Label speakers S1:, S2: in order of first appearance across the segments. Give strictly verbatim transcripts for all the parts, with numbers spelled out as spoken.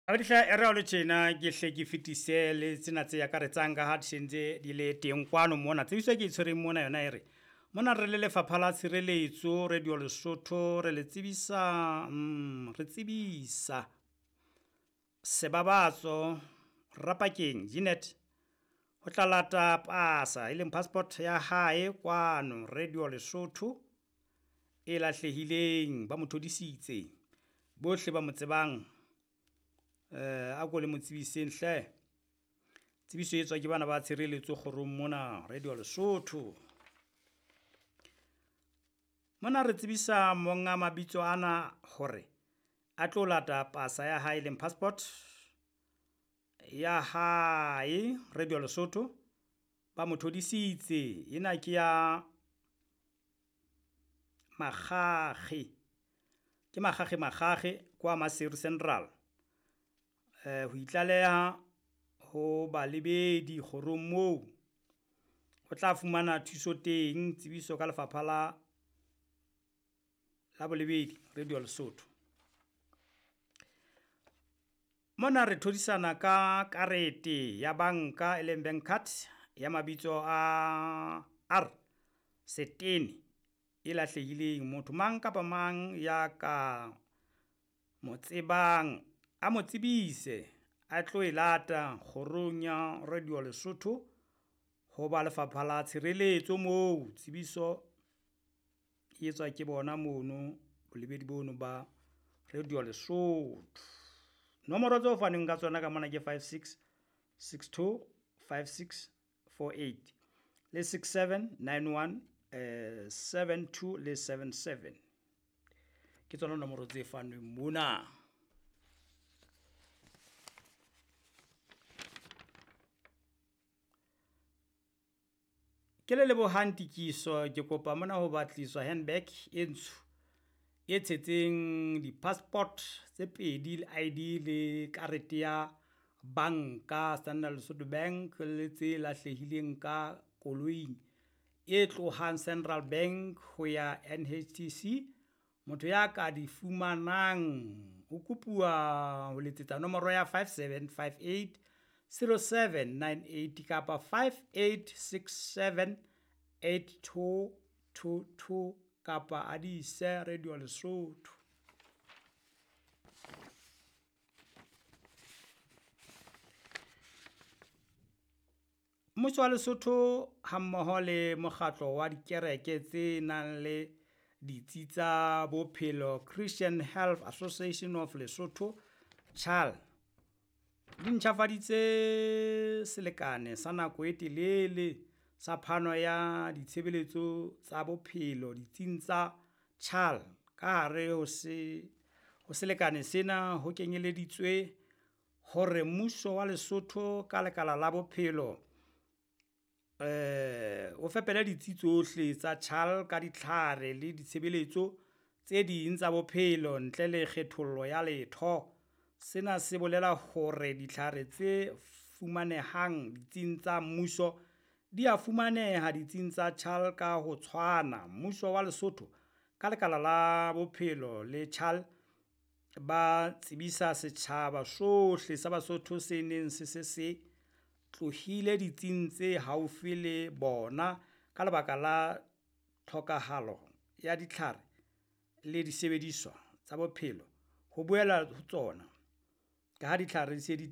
S1: Abadihla e re le tjena ke hle ke fetise le tsena tse akaretsang ka ha di sentse di le teng kwano mona. Tsebiso e ke e tshwereng mona yona e re, mona re le Lefapha la Tshireletso Radio Lesotho re le tsebisa mm, re tsebisa Sebabatso Rapakeng Jeanette ho tla lata pasa e leng passport ya hae kwano Radio Lesotho e lahlehileng, ba mo thodisitse. Bohle ba mo tsebang eh a ko le mo tsebiseng hle. Tsebiso e tswa ke bana ba tshireletso kgorong mona Radio Lesotho. Mona re tsebisa monga mabitso ana hore a tlo lata pasa ya hae leng passport ya hae Radio Lesotho ba mo thodisitse. Ena ke ya Makgakge, ke Makgakge Makgakge kwa Maseru Central. Eh ho itlaleha ho balebedi kgorong moo o tla fumana thuso teng. Tsebiso ka lefapha la la bolebedi Radio Lesotho. Mona re thodisana ka karete ya banka e leng bank card ya mabitso a R Setene e lahlehileng. Motho mang kapa mang ya ka mo tsebang a mo tsebise a tlo e lata kgorong ya Radio Lesotho ho ba lefapha la tshireletso moo. Tsebiso e etswa ke bona mono bolebedi bono ba Radio Lesotho. Nomoro tseo fanweng ka tsona ka mona ke five six six two five six four eight le six seven nine one, eh, seven two le seven seven. Ke tsona nomoro tse fanweng mona. Ke le lebohang Tikiso, ke kopa mona ho batliswa handbag e ntsho e tshetseng di-passport tse pedi le I D le karete ya banka Standard Lesotho Bank le tse lahlehileng ka koloing e tlohang Central Bank ho ya N H T C. Motho ya ka di fumanang o kopuwa ho letsetsa nomoro ya five seven five eight zero seven nine eight kapa five eight six seven eight two two two kapa a di ise Radio Lesotho. Mmuso wa Lesotho hammoho le mokgatlo wa dikereke tse nang le ditsi tsa bophelo Christian Health Association of Lesotho CHAL di ntjhafaditse selekane sa nako e telele sa phano ya ditshebeletso tsa bophelo ditsing tsa CHAL. Ka hare ho se, ho selekane sena ho kenyeleditswe hore mmuso wa Lesotho ka lekala la bophelo eh o fepele ditsi tsohle tsa CHAL ka ditlhare le ditshebeletso tse ding tsa bophelo ntle le kgethollo ya letho. Sena se bolela hore ditlhare tse fumanehang ditsing tsa mmuso di a fumaneha ditsing tsa CHAL ka ho tshwana. Mmuso wa Lesotho ka lekala la bophelo le CHAL ba tsebisa setjhaba sohle sa Basotho se neng se se se tlohile ditsing tse haufi le bona ka lebaka la tlhokahalo ya ditlhare le disebediswa tsa bophelo ho boela ho tsona, ka ha ditlhare di se di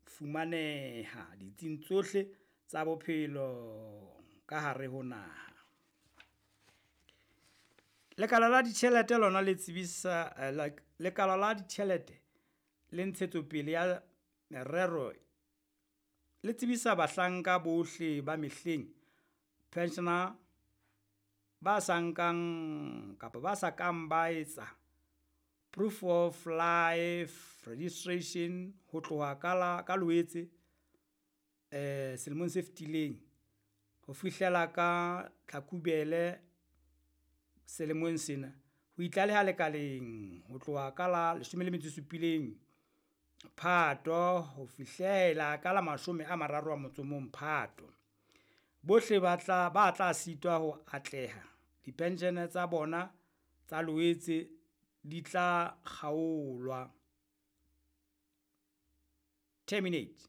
S1: fumaneha ditsing tsohle tsa bophelo ka hare ho naha. Lekala la ditjhelete lona le tsebisa, eh, lekala la ditjhelete le ntshetsopele ya merero le tsebisa bahlanka bohle ba mehleng pensioner ba sa nkang kapa ba sa kang ba etsa proof of life registration ho tloha ka la, ka Loetse eh selemong se fetileng ho fihlela ka Tlhakubele selemong sena, ho itlaleha lekaleng ho tloha ka la leshome le metso e supileng Phato ho fihlela ka la mashome a mararo a motso o mong Phato. Bohle ba tla, ba tla sitwa ho atleha dipenshene tsa bona tsa Loetse di tla kgaolwa. Terminate.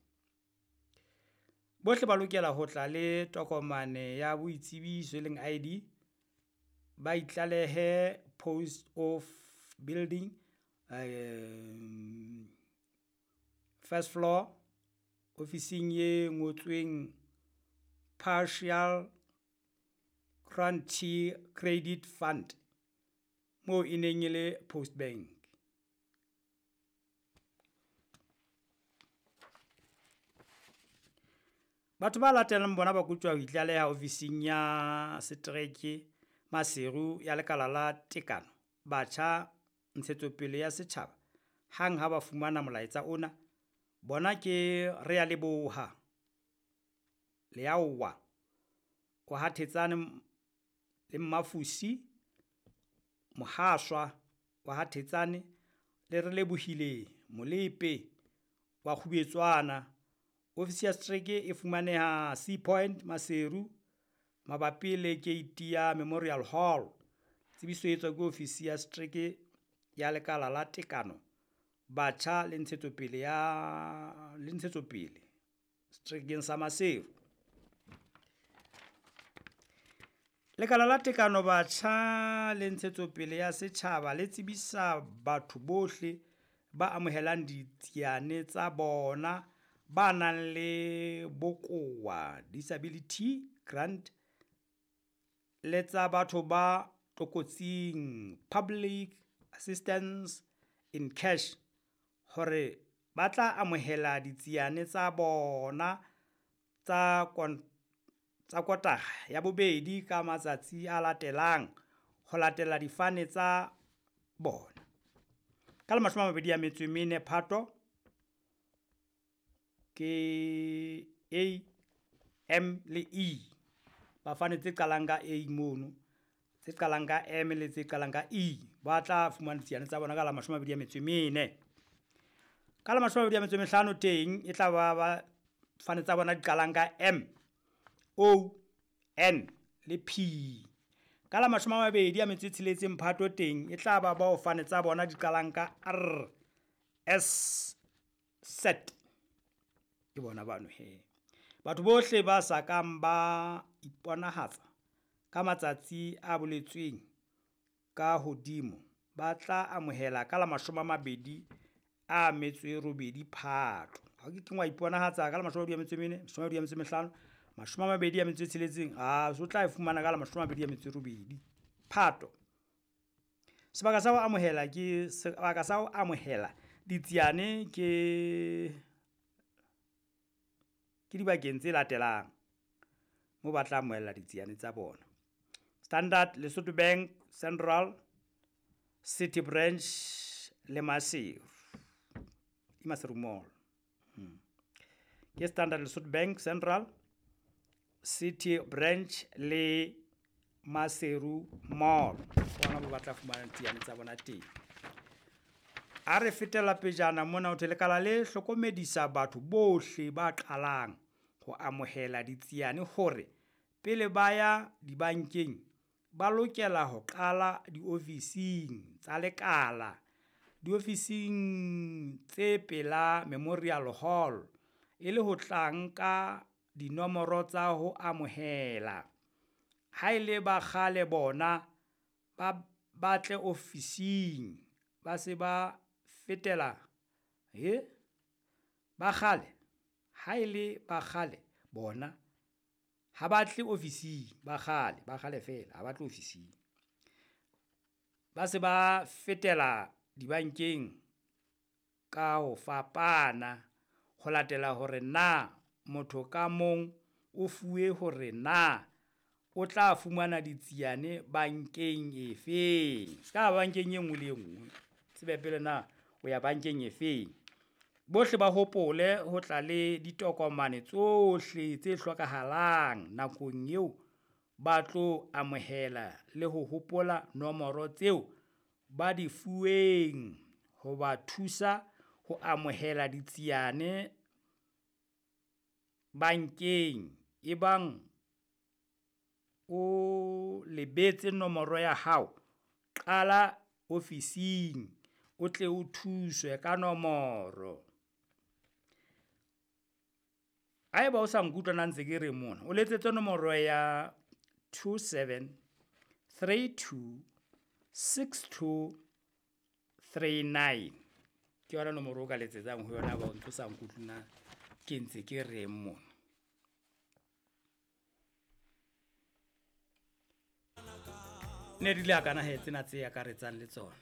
S1: Bohle ba lokela ho tla le tokomane ya boitsebiso e leng I D, ba itlalehe post of building, um, first floor, ofising e ngotsweng Partial Guarantee Credit Fund, moo e neng e le Post Bank. Batho ba latelang bona ba kotjwa ho itlaleha ofising ya setereke Maseru ya lekala la tekano batjha ntshetsopele ya setjhaba hang ha ba fumana molaetsa ona. Bona ke Realeboha Leaowa wa ha Thetsane le Mmafusi Mohaswa wa ha Thetsane le Relebohile Molepe wa Kgubetswana. Ofisi ya setereke e fumaneha Sea Point Maseru mabapi le keiti ya Memorial Hall. Tsebiso e etswa ke ofisi ya setereke ya lekala la tekano batjha le ntshetsopele ya le ntshetsopele seterekeng sa Maseru. Lekala la tekano batjha le ntshetsopele ya setjhaba le tsebisa batho bohle ba amohelang ditsiane tsa bona ba nang le bokowa disability grant le tsa batho ba tlokotsing public assistance in cash hore ba tla amohela ditsiane tsa bona tsa kon tsa kotara ya bobedi ka matsatsi a latelang ho latela difane tsa bona. Ka la mashome a mabedi a metso e mene Phato ke A, M le E. Ba fane tse qalang ka A mono, tse qalang ka M le tse qalang ka E. Ba tla fumana ditsiane tsa bona ka la mashome a mabedi a metso e mene. Ka la mashome a mabedi a metso e mehlano teng e tla ba ba fane tsa bona di qalang ka M, O, N le P. Ka la mashome a mabedi a metso e tsheletseng Phato teng e tla ba bao fane tsa bona di qalang ka R, S, Z. Ke bona bano he. Batho bohle ba sa kang ba iponahatsa ka matsatsi a boletsweng ka hodimo ba tla amohela ka la mashome a mabedi a metso e robedi Phato. Ha ke keng wa iponahatsa ka la mashome a mabedi a metso e mene, mashome a mabedi a metso e mehlano, mashome a mabedi a metso e tsheletseng, a so tla e fumana ka la mashome a mabedi a metso e robedi Phato. Sebaka sa ho amohela ke sebaka sa ho amohela ditsiane ke ke dibakeng tse latelang mo ba tla amohela ditsiane tsa bona. Standard Lesotho Bank Central City Branch le Maseru. Ke Maseru Mall. Hmm. Ke Standard Lesotho Bank Central City Branch le Maseru Mall. Bona ba batla fumana ditsiane tsa bona teng. A re fetela pejana mona ho thwe lekala le hlokomedisa batho bohle ba qalang ho amohela ditsiane hore pele ba ya dibankeng ba lokela ho qala diofising tsa lekala, diofising tse pela Memorial Hall e le ho tla nka dinomoro tsa ho amohela. Ha e le ba kgale bona ba batle ofising ba se ba fetela he ba kgale ha e le ba kgale bona ha ba tle ofising ba kgale ba kgale fela ha ba tle ofising ba se ba fetela dibankeng ka ho fapana ho latela hore na motho ka mong o fuwe hore na o tla fumana ditsiane bankeng efeng. Se ka bankeng e nngwe le e nngwe, tsebe pele na o ya bankeng efeng. Bohle ba hopole ho tla le ditokomane tsohle tse hlokahalang nakong eo ba tlo amohela le ho hopola nomoro tseo ba di fuweng ho ba thusa ho amohela ditsiane bankeng. Ebang o lebetse nomoro ya hao, qala ofising o tle o thuswe ka nomoro. Haeba o sa nkutlwa na ntse ke re mona, o letsetse nomoro ya two seven three two six two three nine. Ke yona nomoro o ka letsetsang ho yona ba o ntso sa nkutlwe na ke ntse ke reng mona. Ne di le hakana he tsena tse akaretsang le tsona.